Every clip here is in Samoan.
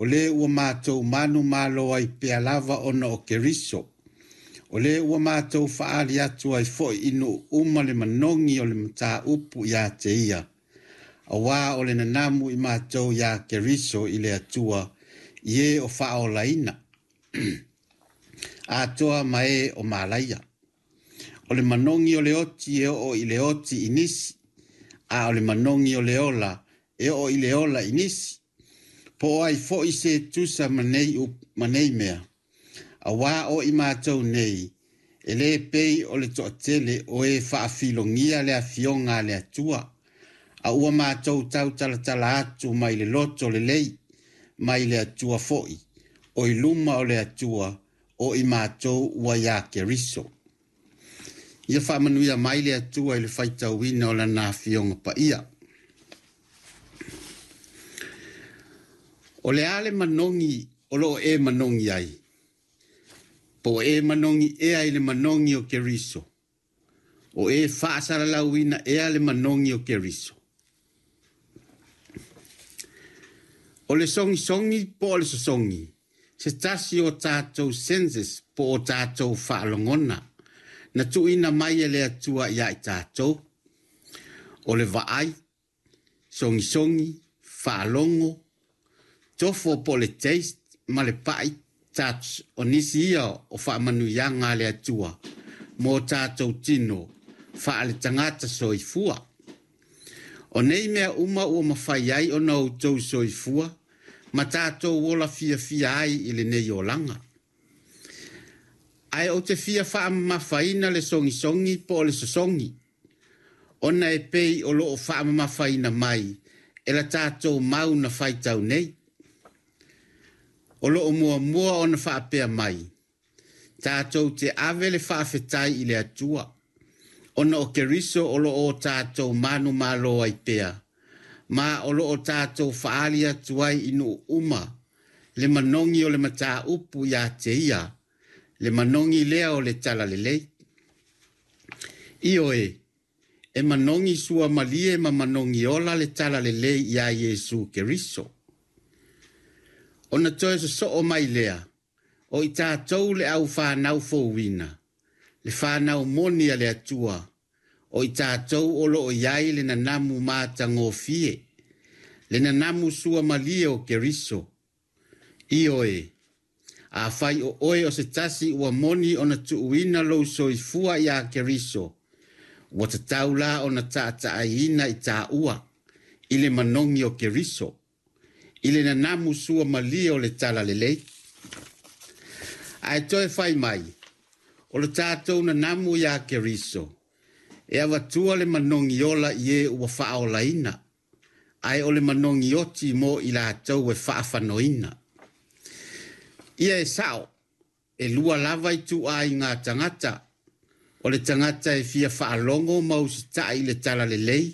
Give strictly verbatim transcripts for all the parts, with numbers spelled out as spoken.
O lē ua matou manumalo ai pea lava ona o Keriso. O lē ua matou faaali atu ai foi i nuu uma le manogi o le mataupu ia te ia, auā o le nanamu i matou iā Keriso i le Atua i e o faaolaina atoa ma e o malaia. O le manogi o le oti e oo i le oti i nisi, a o le manogi o le ola e oo i le ola i nisi. Po o ai foi se tusa ma nei, ma nei mea, auā o i matou nei, e lē pei o le toatele o e faafilogia le afioga a le Atua, a ua matou tautalatala atu mai le loto lelei, mai le Atua foi, o i luma o le Atua, o i matou ua iā Keriso. Ia faamanuia mai le Atua i le faitauina o lana afioga paia. O le a le manogi o loo e manogi ai? Po o e manogi ea i le manogi o Keriso? O e faasalalauina ea le manogi o Keriso? O le sogisogi po o le sosogi, se tasi o tatou senses po o tatou faalogona, na tuuina mai e le Atua ia i tatou. O le vaai, sogisogi, faalogo, tofo po o le taste ma le pai, touch, o nisi ia o faamanuiaga a le Atua mo tatou tino faaletagata soifua. O nei mea uma ua mafai ai ona outou soifua ma tatou ola fiafia ai i lenei olaga. Ae ou te fia faamamafaina le sogisogi po o le sosogi, ona e pei o loo faamamafaina mai e la tatou mau na faitau nei. O loo muamua ona faapea mai, tatou te ave le faafetai i le Atua, ona o Keriso o loo o tatou manumalo ai pea, ma o loo tatou faaali atu ai i nuu uma le manogi o le mataupu ia te ia, le manogi lea o le talalelei. Ioe, e manogi suamalie ma manogi ola le talalelei iā Iesu Keriso. Ona toe sosoo mai lea, o i tatou le au whanau fouina, le whanau moni a le Atua, o i tatou o loo iai le nanamu matagofie, le nanamu suamalie o Keriso. Ioe, afai o oe o se tasi ua moni ona tuuina lou soifua iā Keriso, ua tatau la ona taataaiina i taua i le manogi o Keriso, i le nanamu suamalie o le talalelei. Ae toe fai mai, o le tatou nanamu iā Keriso, e avatua le manogi ola i e ua faaolaina, ae o le manogi oti mo i latou e faafanoina. Ia e sao, e lua lava i tuaiga tagata, o le tagata e fia faalogo ma usitai i le talalelei,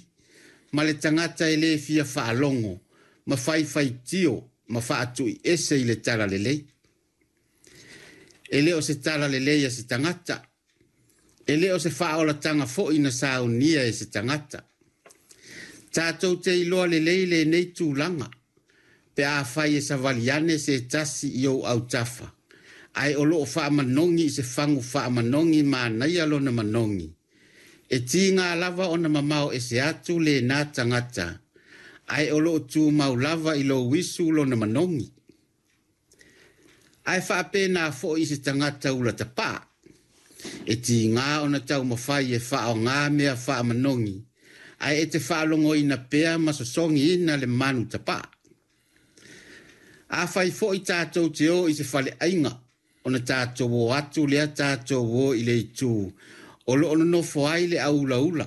ma le tagata e lē fia faalogo ma faifaitio ma faatuiese i le talalelei. E le o se talalelei a se tagata, e le o se faaolataga foi na saunia e se tagata. Tatou te iloa lelei lenei tulaga, pe afai e savali ane se tasi i ou autafa, ae o loo faamanogi i se fagu faamanogi manaia lona manogi. E tiga lava ona mamao ese atu lenā tagata, ae o loo tumau lava i lou uisu lona manogi. Ae faapena foi i se tagata ula tapaa, e tiga ona taumafai e faaaogā mea faamanogi, ae e te faalogoina pea ma sosogiina le manu tapaa. Afai foi tatou te o i se faleaiga, ona tatou o atu lea tatou o i le itu o loo nonofo ai le aulaula,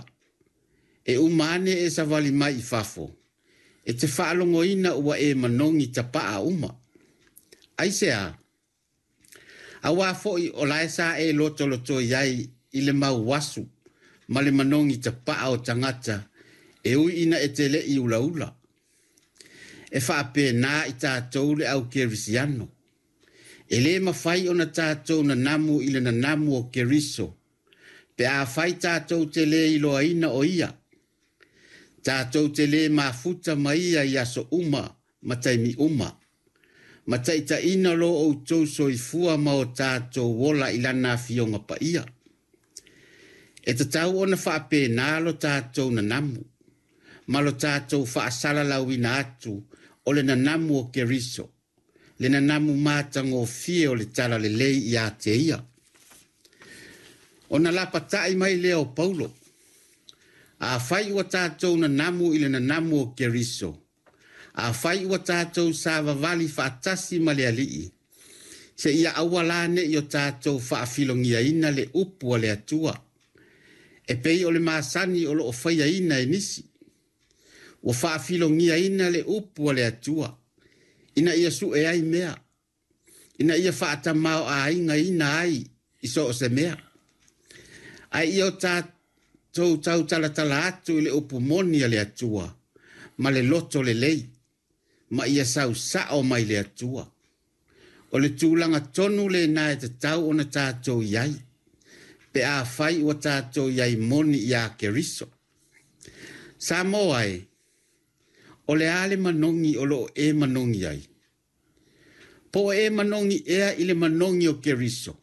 e uma ane e savali mai i fafo, e te faalogoina ua e manogi tapaa uma. Aisea? Auā foi o lae sa e lotolotoi ai i le mau asu ma le manogi tapaa o tagata e ui ina e te le'i ulaula. E faapena i tatou le au kerisiano. E lē mafai ona tatou nanamu i le nanamu o Keriso, pe afai tatou te lē iloaina o ia. Tatou te lē mafuta ma ia i aso uma ma taimi uma. Ma taitaina lo outou soifua ma o tatou ola i lana afioga paia. E tatau ona faapena lo tatou nanamu, ma lo tatou faasalalauina atu o le nanamu o Keriso, le nanamu matagofie o le talalelei ia te ia. Ona lapatai mai lea o Paulo, afai ua tatou nanamu i le nanamu o Keriso, afai ua tatou savavali faatasi ma le Alii, seia aua la ne i o tatou faafilogiaina le upu a le Atua, e pei o le masani o loo faiaina e nisi. Ua faafilogiaina le upu a le Atua, ina ia sue ai mea, ina ia faatamaoaigaina ai i so o se mea. Ae ia o tatou tautalatala atu i le upu moni a le Atua, ma le loto lelei, ma ia sausao mai le Atua. O le tulaga tonu lena e tatau ona tatou i ai, pe afai ua tatou i ai moni ia Keriso. Samoa e, o le a le manogi o loo e manogi ai? Po o e manogi ea i le manogi o Keriso?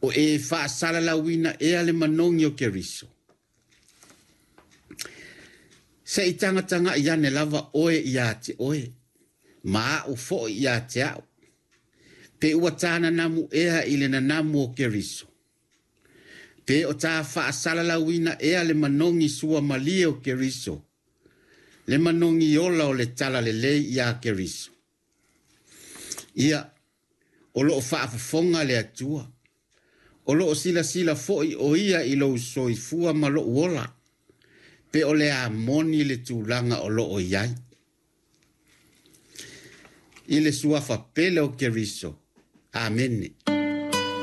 O e faasalalauina ea le manogi o Keriso? Se i tagatagai ane lava oe ia te oe, ma au foi ia te au. Pe ua ta nanamu ea i le nanamu o Keriso? Pe o ta faasalalauina ea le manogi suamalie o Keriso, le manogi ola o le talalelei ia Keriso? Ia, o loo faafofoga le Atua, o loo silasila foi o ia i lou soifua ma lou ola, pe o le a moni le tulaga o loo i ai. I le suafa pele o Keriso. Amene.